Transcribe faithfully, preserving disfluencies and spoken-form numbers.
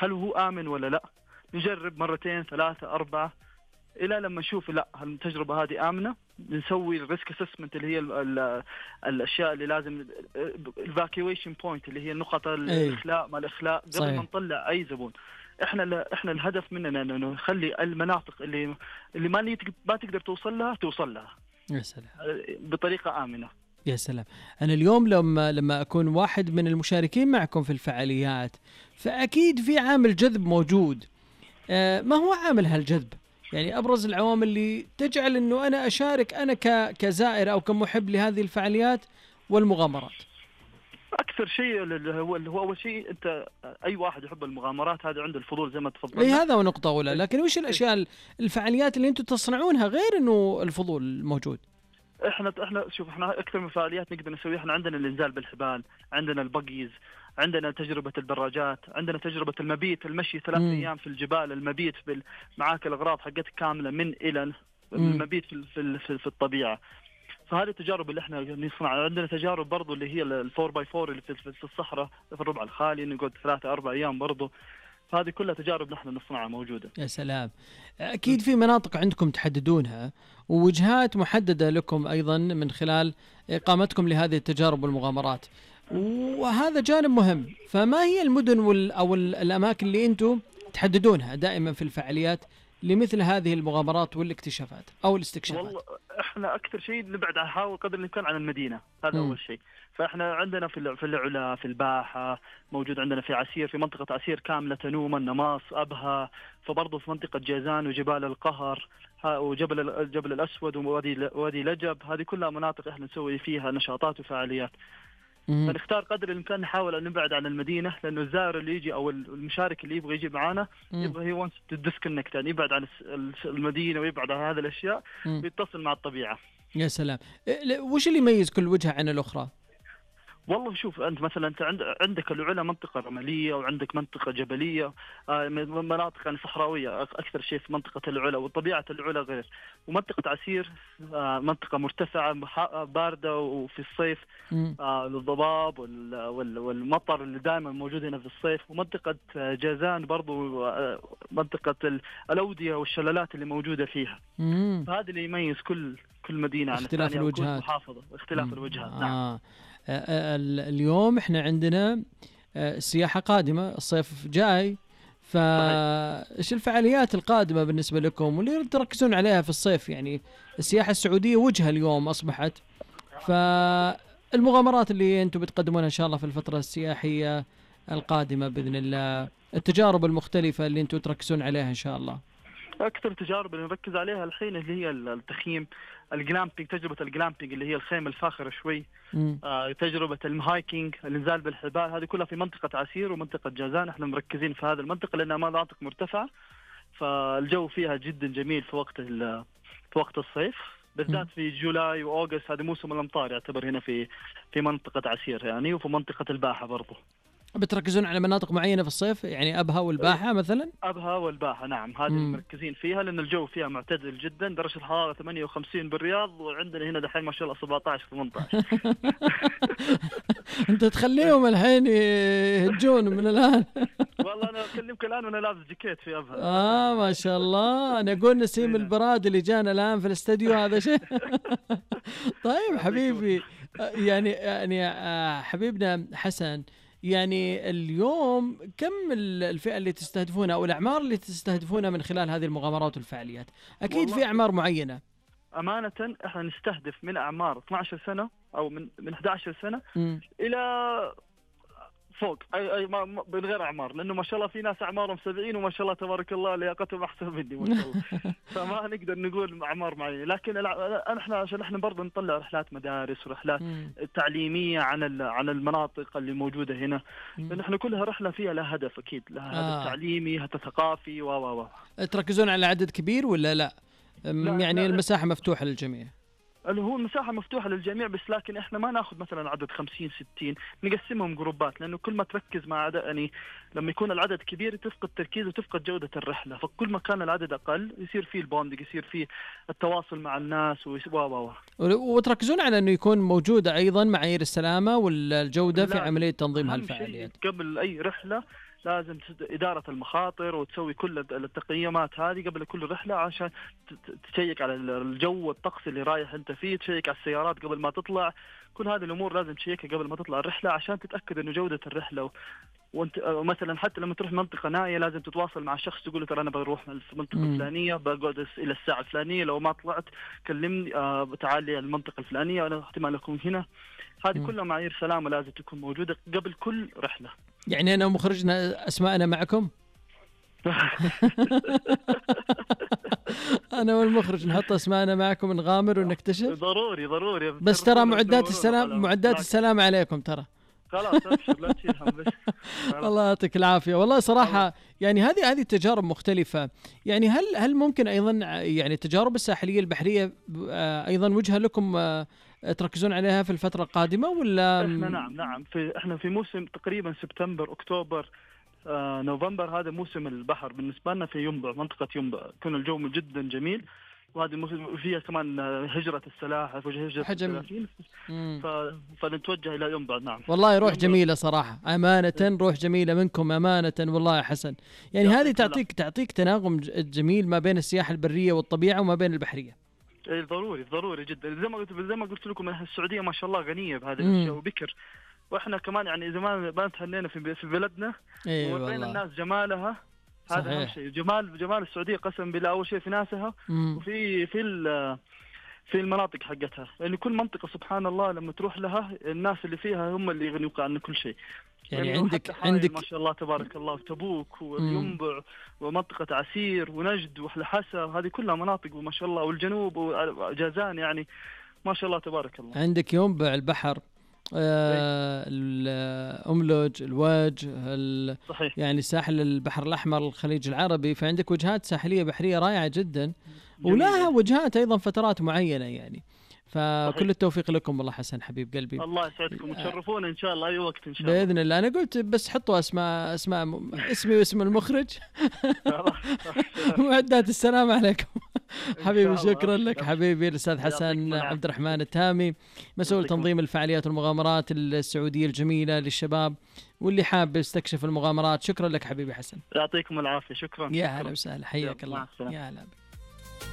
هل هو آمن ولا لا. نجرب مرتين ثلاثة أربعة إلى لما نشوف لا هل التجربة هذه آمنة. نسوي الريسك اسسمنت اللي هي ال ال الأشياء اللي لازم evacuation point اللي هي نقط الإخلاء ما الإخلاء قبل ما نطلع أي زبون. إحنا إحنا الهدف مننا إنه نخلي المناطق اللي اللي ما ما تقدر توصل لها توصل لها. يا سلام. بطريقة آمنة. يا سلام. أنا اليوم لما لما أكون واحد من المشاركين معكم في الفعاليات فأكيد في عامل جذب موجود. آه ما هو عامل هالجذب؟ يعني أبرز العوامل اللي تجعل إنه أنا أشارك أنا ك كزائر أو كمحب لهذه الفعاليات والمغامرات. أكثر شيء هو اللي هو أول شيء أنت أي واحد يحب المغامرات هذا عنده الفضول زي ما تفضلنا. إيه هذا ونقطة أولى. لكن وش الأشياء الفعاليات اللي أنتم تصنعونها غير إنه الفضول موجود؟ احنا احنا شوف احنا اكثر من فعاليات نقدر نسويها. احنا عندنا الانزال بالحبال، عندنا البقيز، عندنا تجربة الدراجات، عندنا تجربة المبيت المشي ثلاث مم. ايام في الجبال، المبيت معاك الاغراض حقتك كاملة من الى المبيت في في في, في الطبيعة. فهذه التجارب اللي احنا نصنعها. عندنا تجارب برضو اللي هي الفور باي فور اللي في, في الصحراء في الربع الخالي نقعد ثلاثة أربع أيام برضو. هذه كلها تجارب نحن نصنعها موجودة. يا سلام. أكيد في مناطق عندكم تحددونها ووجهات محددة لكم أيضا من خلال إقامتكم لهذه التجارب والمغامرات، وهذا جانب مهم. فما هي المدن وال أو الأماكن اللي أنتم تحددونها دائما في الفعاليات لمثل هذه المغامرات والاكتشافات أو الاستكشافات؟ والله احنا أكثر شيء نبعد نحاول قدر الإمكان عن المدينة. هذا م. أول شيء. فإحنا عندنا في في العلا في الباحة موجود، عندنا في عسير في منطقة عسير كاملة تنوما نماص أبها، فبرضه في منطقة جيزان وجبال القهر وجبل الجبل الأسود ووادي وادي لجب. هذه كلها مناطق إحنا نسوي فيها نشاطات وفعاليات. فنختار قدر الإمكان نحاول أن نبعد عن المدينة، لأنه الزائر اللي يجي أو المشارك اللي يبغى يجي معانا يبغى هي وانس تديسكونكت يعني يبعد عن المدينة ويبعد عن هذه الأشياء ويتصل مع الطبيعة. يا سلام. وش اللي يميز كل وجهة عن الأخرى؟ والله شوف أنت مثلا أنت عندك العلا منطقة رملية وعندك منطقة جبلية، مناطق يعني صحراوية أكثر شيء في منطقة العلا، وطبيعة العلا غير. ومنطقة عسير منطقة مرتفعة باردة وفي الصيف الضباب والمطر اللي دائما موجود هنا في الصيف. ومنطقة جازان برضو منطقة الأودية والشلالات اللي موجودة فيها. فهذا اللي يميز كل كل مدينة عن اختلاف الوجهات، محافظة اختلاف مم. الوجهات. آه. نعم. اليوم احنا عندنا السياحة قادمة، الصيف جاي، فايش الفعاليات القادمة بالنسبة لكم واللي تركزون عليها في الصيف؟ يعني السياحة السعودية وجهة اليوم أصبحت، فالمغامرات اللي أنتم بتقدمونها إن شاء الله في الفترة السياحية القادمة بإذن الله، التجارب المختلفة اللي أنتم تركزون عليها إن شاء الله. أكثر تجارب اللي نركز عليها الحين اللي هي التخييم، الجلامبينج، تجربة الجلامبينج اللي هي الخيمة الفاخرة شوي، آه، تجربة المهايكينج، الانزال بالحبال، هذه كلها في منطقة عسير ومنطقة جازان. احنا مركزين في هذه المنطقة لأنها مناطق مرتفعة، فالجو فيها جدا جميل في وقت في وقت الصيف بالذات في جولاي وأوغست. هذا موسم الأمطار يعتبر هنا في في منطقة عسير يعني، وفي منطقة الباحة برضو. بتركزون على مناطق معينة في الصيف يعني أبها والباحة مثلا؟ أبها والباحة نعم، هذه مركزين فيها لأن الجو فيها معتدل جدا. درجة الحرارة ثمانية وخمسين بالرياض، وعندنا هنا دحين ما شاء الله سبعة عشر ثمانية عشر. أنت تخليهم الحين يهجون من الآن. والله أنا أكلمك الآن وأنا لابس جاكيت في أبها. آه ما شاء الله. أنا أقول نسيم البراد اللي جانا الآن في الاستديو هذا شيء. طيب حبيبي، يعني يعني حبيبنا حسن، يعني اليوم كم الفئة اللي تستهدفونها أو الأعمار اللي تستهدفونها من خلال هذه المغامرات والفعاليات؟ أكيد في أعمار معينة. أمانة إحنا نستهدف من أعمار اثنتي عشرة سنة أو من من إحدى عشرة سنة م. إلى فوق أي أي ما من غير أعمار، لأنه ما شاء الله في ناس أعمارهم سبعين وما شاء الله تبارك الله لياقتهم أحسن مني ما شاء الله. فما نقدر نقول أعمار معينة، لكن إحنا عشان إحنا برضه نطلع رحلات مدارس ورحلات م. تعليمية عن عن المناطق اللي موجودة هنا، لأن إحنا كلها رحلة فيها لها هدف أكيد، لها آه. هدف تعليمي، هدف ثقافي و و و. تركزون على عدد كبير ولا لا؟ لا يعني لا المساحة مفتوحة للجميع؟ اللي هو المساحة مفتوحة للجميع، بس لكن إحنا ما نأخذ مثلا عدد خمسين ستين، نقسمهم جروبات، لأنه كل ما تركز مع عدد يعني لما يكون العدد كبير تفقد تركيز وتفقد جودة الرحلة، فكل ما كان العدد أقل يصير فيه البوندنج، يصير فيه التواصل مع الناس و و وتركزون على إنه يكون موجودة أيضا معايير السلامة والجودة في عملية تنظيم هالفعاليات قبل أي رحلة. لازم إدارة المخاطر وتسوي كل التقييمات هذه قبل كل رحلة عشان تشيك على الجو والطقس اللي رايح أنت فيه، تشيك على السيارات قبل ما تطلع، كل هذه الأمور لازم تشيكها قبل ما تطلع الرحلة عشان تتأكد إنه جودة الرحلة. وانت مثلا حتى لما تروح منطقة نائية لازم تتواصل مع شخص تقول له ترى أنا بروح المنطقة الفلانية بقعد إلى الساعة الفلانية، لو ما طلعت كلمني آه تعال لي المنطقة الفلانية أنا احتمال أكون هنا. هذه كلها معايير سلامة لازم تكون موجودة قبل كل رحلة. يعني أنا ومخرجنا أسماءنا معكم؟ أنا والمخرج نحط أسماءنا معكم نغامر ونكتشف. ضروري ضروري. بس ترى معدات السلام معدات السلام عليكم ترى. خلاص أبشر لا تشيل هم بس. الله يعطيك العافية والله صراحة. يعني هذه هذه تجارب مختلفة. يعني هل هل ممكن أيضا يعني التجارب الساحلية البحرية أيضا وجهة لكم تركزون عليها في الفترة القادمة ولا؟ إحنا نعم نعم في إحنا في موسم تقريبا سبتمبر أكتوبر آه، نوفمبر، هذا موسم البحر بالنسبة لنا في ينبع، منطقة ينبع يكون الجو جدا جميل، وهذه الموسم فيها كمان هجرة السلاحف وهجرة السلاحفين، ف... فنتوجه إلى ينبع. نعم والله روح جميلة صراحة أمانة، روح جميلة منكم أمانة والله يا حسن. يعني هذه تعطيك تعطيك تناغم جميل ما بين السياحة البرية والطبيعة وما بين البحرية. اي ضروري ضروري جدا. زي ما قلت زي ما قلت لكم السعودية ما شاء الله غنية بهذه الأشياء وبكر، واحنا كمان يعني زمان ما تهنينا في في بلدنا وورينا الناس جمالها. هذا اهم شيء، جمال جمال السعوديه قسم بالله. اول شيء في ناسها مم. وفي في في المناطق حقتها، لان يعني كل منطقه سبحان الله لما تروح لها الناس اللي فيها هم اللي يغنيوك عن كل شيء. يعني, يعني عندك عندك ما شاء الله تبارك الله تبوك والينبع ومنطقه عسير ونجد والحسا، هذه كلها مناطق وما شاء الله، والجنوب وجازان، يعني ما شاء الله تبارك الله. عندك ينبع البحر آه الأملج الواج يعني ساحل البحر الأحمر الخليج العربي، فعندك وجهات ساحلية بحرية رائعة جدا ولها وجهات أيضا فترات معينة يعني. فكل صحيح. التوفيق لكم والله حسن حبيب قلبي. الله يسعدكم وتشرفونا إن شاء الله أي وقت إن شاء الله بإذن الله. أنا قلت بس حطوا أسماء أسماء اسمي واسم المخرج. معدات السلام عليكم حبيبي. شكرا لك حبيبي الأستاذ حسن عبد الرحمن التامي، مسؤول تنظيم الفعاليات والمغامرات السعودية الجميلة للشباب واللي حاب يستكشف المغامرات. شكرا لك حبيبي حسن. يعطيكم العافية. شكرا. يا هلا وسهلا، حياك الله. يا هلا.